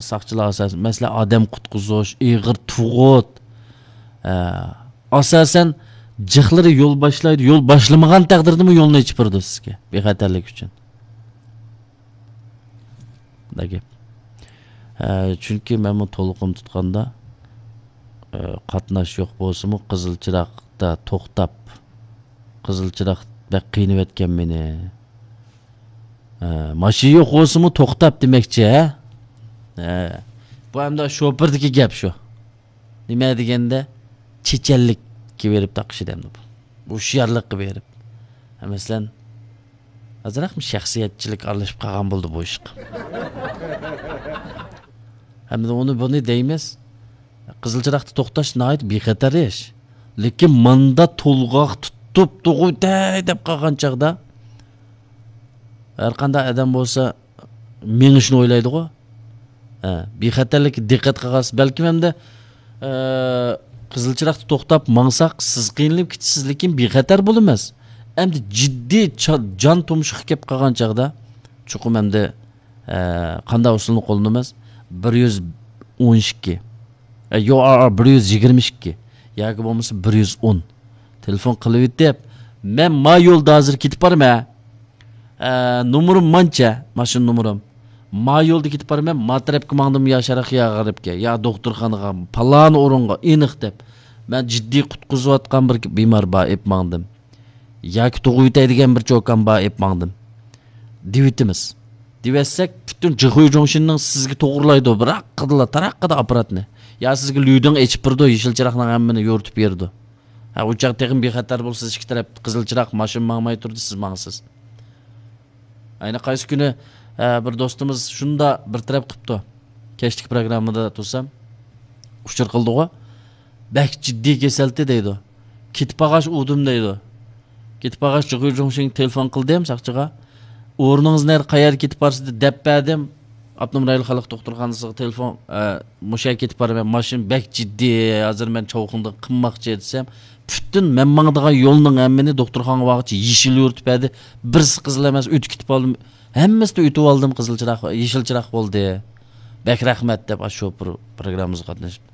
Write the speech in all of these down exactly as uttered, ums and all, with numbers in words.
ساقچىلار ئاساسەن، مەسىلەن، ئادەم قۇتقۇزۇش، ئېغىر تۇغۇت، ئە، ئاساسەن، جىقلىرى يول باشلايدۇ. يول باشلىمىغان تەقدىردىمۇ يولنى ئېچىپ بېرىدۇ سىزگە، بىخەتەرلىك ئۈچۈن. بۇنداق گەپ. ئە، چۈنكى مەنمۇ تولۇقۇم تۇتقاندا، ئە، قاتناش يوق بولسىمۇ، قىزىل چىراغدا توختاپ، قىزىل چىراغ بەك قىينىۋەتكەن مېنى. ئە، ماشىنا يوق بولسىمۇ توختاپ دېمەكچى، ھە؟ ھە. بۇ ئەمدى شوپۇردىكى گەپ شۇ. نېمە دېگەندە، چېچەنلىككە بېرىپ تاقىشىدۇ ئەمدى بۇ. ھوشيارلىققا بېرىپ. ھە، مەسىلەن، ئازراقمۇ شەخسىيەتچىلىك ئارىلىشىپ قالغان بولدى بۇ ئىشقا. ھەمدە ئۇنى بۇنى دەيمىز. قىزىل چىراغدا توختاش ناھايىتى بىخەتەر ئىش. لېكىن ماندا تولغاق تۇتۇپ تۇغۇتەي دەپ قالغان چاغدا، ھەر قانداق ئادەم بولسا مېڭىشنى ئويلايدىغۇ. ھە، بىخەتەرلىككە دىققەت قىلغانسىز. بەلكىم ئەمدى، ئە، قىزىل چىراغدا توختاپ ماڭساق، سىز قىينىلىپ كېتىسىز، لېكىن بىخەتەر بولىمىز. ئەمدى جىددىي چا-، جان تۇمشۇققا كېلىپ قالغان چاغدا، چوقۇم ئەمدى، ئە، قانداق ئۇسۇلنى قوللىنىمىز؟ بىر يۈز ئون ئىككى. ئە، يو ئار ئار بىر يۈز يىگىرمە ئىككى. ياكى بولمىسا بىر يۈز ئون. تېلېفون قىلىۋېتىپ، مەن ما يولدا ھازىر كېتىپ بارىمەن. ئە، نومۇرۇم مانچە، ماشىنا نومۇرۇم. ما يولدا كېتىپ بارىمەن، ما تەرەپكە ماڭدىم، يا شەرققە، يا غەربكە، يا دوختۇرخانىغا، پالان ئورۇنغا، ئېنىق دەپ. مەن جىددىي قۇتقۇزۇۋاتقان بىر بىمار بار، ئېلىپ ماڭدىم. ياكى تۇغۇۋېتەي دېگەن بىر چوكان بار، ئېلىپ ماڭدىم. دېۋىتىمىز. دېۋەتسەك، پۈتۈن جىخۇي جۇڭشىننىڭ سىزگە توغرىلايدۇ، بىراققىدىلا، تاراققىدا ئاپپاراتنى. يا سىزگە لۈدىڭ ئېچىپ بېرىدۇ، يېشىل چىراغنىڭ ھەممىنى يورۇتۇپ بېرىدۇ. ھە، ئۇ چاغ تېخىمۇ بىخەتەر بولىسىز، ئىككى تەرەپ قىزىل چىراغ، ماشىنا ماڭماي تۇردى، سىز ماڭىسىز. ئەنە قايسى كۈنى، ھە، بىر دوستىمىز شۇندا بىر تەرەپ قىپتۇ. كەچلىك پروگراممىدا تۇرسام، ئۇچۇر قىلدىغۇ. بەك جىددىي كېسەلتى دەيدۇ. كېتىپ بارغاچ ئۇدۇم دەيدۇ. كېتىپ بارغاچ جىغۇي جۇڭشىڭ تېلېفون قىلدىم ساقچىغا. ئورنىڭىز نەدە، قەيەرگە كېتىپ بارسىز دەپ بەردىم. ئاپتونوم رايونلۇق خەلق دوختۇرخانىسىغا تېلېفون، ئە، مۇشۇ يەرگە كېتىپ بارىمەن، ماشىنا بەك جىددىي، ھازىر مەن چاۋخۇڭدىن قىمماقچى دېسەم، پۈتۈن مەن ماڭىدىغان يولنىڭ ھەممىنى دوختۇرخانىغا بارغۇچە يېشىل يورۇتۇپ بەردى. بىرسى قىزىل ئەمەس، ئۆتۈپ كېتىپ قالدىم. ھەممىسىدە ئۆتۈپ ئالدىم، قىزىل چىراغ، يېشىل چىراغ بولدى. بەك رەھمەت دەپ، ئاشۇ شوپۇر پروگراممىمىزغا قاتنىشىپ.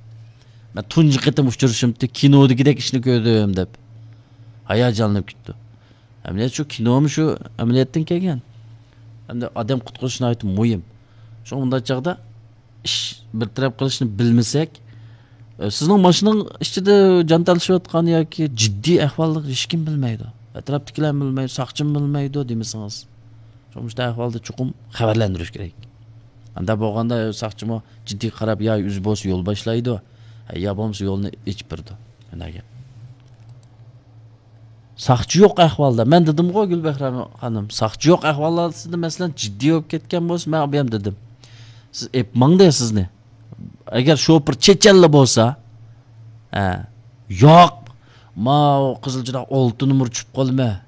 مەن تۇنجى قېتىم ئۇچرىشىمتى، كىنودىكىدەك ئىشنى كۆردۈم دەپ ھاياجانلىنىپ كېتىپتۇ. ئەمەلىيەت شۇ، كىنومۇ شۇ، ئەمەلىيەتتىن كەلگەن. ئەمدى ئادەم قۇتقۇزۇش ناھايىتى مۇھىم. شۇڭا بۇنداق چاغدا ئىش بىر تەرەپ قىلىشنى بىلمىسەك، ئە، سىزنىڭ ماشىنىنىڭ ئىچىدە جان تالىشىۋاتقان ياكى جىددىي ئەھۋاللىق ھېچكىم بىلمەيدۇ. ئەتراپتىكىلەر بىلمەيدۇ، ساقچىمۇ بىلمەيدۇ دېمىسىڭىز. شۇڭا مۇشۇنداق ئەھۋالدا چوقۇم خەۋەرلەندۈرۈش كېرەك. ئاندا بولغاندا ساقچىمۇ جىددىي قاراپ، يا ئۆزى بولسا يول باشلايدۇ، يا بولمىسا يولنى ئېچىپ بېرىدۇ. مانا گەپ. ساقچى يوق ئەھۋالدا. مەن دېدىمغۇ، گۈلبەھرەم خانىم، ساقچى يوق ئەھۋالدا، مەسىلەن، جىددىي بولۇپ كەتكەن بولسا، مەن ئابىيام دېدىم. سىز ئېپ ماڭدى سىزنى. ئەگەر شوپۇر چېچەنلا بولسا، ھە، ياق، ماۋۇ قىزىل چىراغ ئالتە نومۇر چۈشۈپ قالىمەن.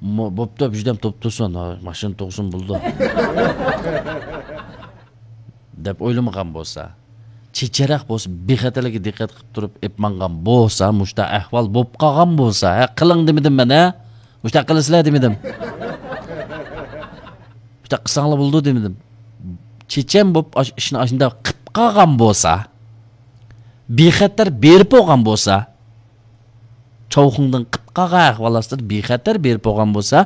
مو-، بوپتۇ، بىردەم توپ تۇرسۇن، ھا، ماشىنا توغسۇن بولىدۇ. دەپ ئويلىمىغان بولسا، چېچەرەق بولسا، بىخەتەرلىككە دىققەت قىلىپ تۇرۇپ ئېپ ماڭغان بولسا، مۇشۇنداق ئەھۋال بوپ قالغان بولسا، ھە، قىلىڭ دېمىدىم مەن، ھە؟ مۇشۇنداق قىلىسىلەر دېمىدىم. مۇشۇنداق قىلساڭلار بولىدۇ دېمىدىم. چېچەن بوپ ئاش-، ئىشنى ئاشۇنداق قىپ قالغان بولسا، بىخەتەر بېرىپ بولغان بولسا، چاۋخۇڭدىن قىپ قالغان ئەھۋال ئاستىدا بىخەتەر بېرىپ بولغان بولسا،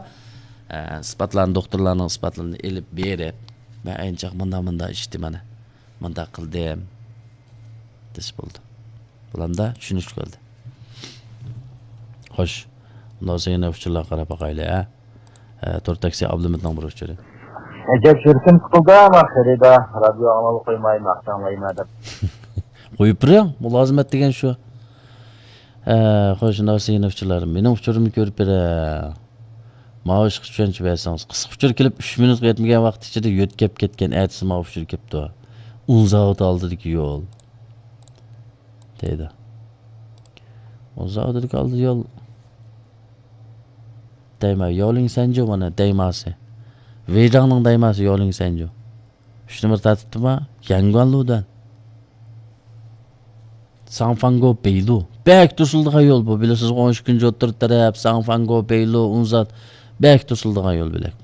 ئە، ئىسپاتلارنى، دوختۇرلارنىڭ ئىسپاتلىرىنى ئېلىپ بېرىپ، مەن ئەينى چاغ مۇنداق، مۇنداق ئىچتىم، مانا، مۇنداق قىلدىم، دېسە بولىدۇ. بۇلامدا چۈشىنىشلىك بولدى. خوش، ئۇنداق بولسا يەنە ئۇچۇرلارغا قاراپ باقايلى، ھە؟ ئە، تور تاكسى ئابلىمىتنىڭ بىر ئۇچۇرى. ئەجەب يۈرىكىم سىقىلدى، ئەمما خېرىدار، رادىيو ئاڭلاۋاتقايماي، ناخشا ئاڭلايمەن دەپ. قويۇپ بېرىڭ، مۇلازىمەت دېگەن شۇ. ئە، خوش، شۇنداق دېسە يەنە ئۇچۇرلار. مېنىڭ ئۇچۇرۇمنى كۆرۈپ بېرە. ماۋۇ ئىشقا چۈشەنچە بەرسىڭىز. قىسقا ئۇچۇر كېلىپ، ئۈچ مىنۇتقا يەتمىگەن ۋاقىت ئىچىدە يۆتكەپ كەتكەن. ئەتىسى ماۋۇ ئۇچۇر كەپتۇ. ئۇن زاۋۇتى ئالدىدىكى يول. دەيدۇ. ئۇن زاۋۇتىدىكى ئالدى يول. دەيما، ياۋلىڭ سەنجۇ مانا دەيماسى. ۋېيجاڭنىڭ دەيماسى ياۋلىڭ سەنجۇ. ئۈچ نومۇر تارتىپتىما؟ يەنگۇەنلۇدىن. ساڭفاڭگو بېيلۇ. بەك توسۇلىدىغان يول بۇ. بىلىسىز، ئون ئىككىنچى ئوتتۇرا تەرەپ، ساڭفاڭگو بېيلۇ، ئۇنزات. بەك توسۇلىدىغان يول بۆلەك.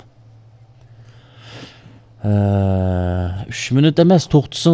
ئە، ئۈچ مىنۇت ئەمەس، توختىسىڭىز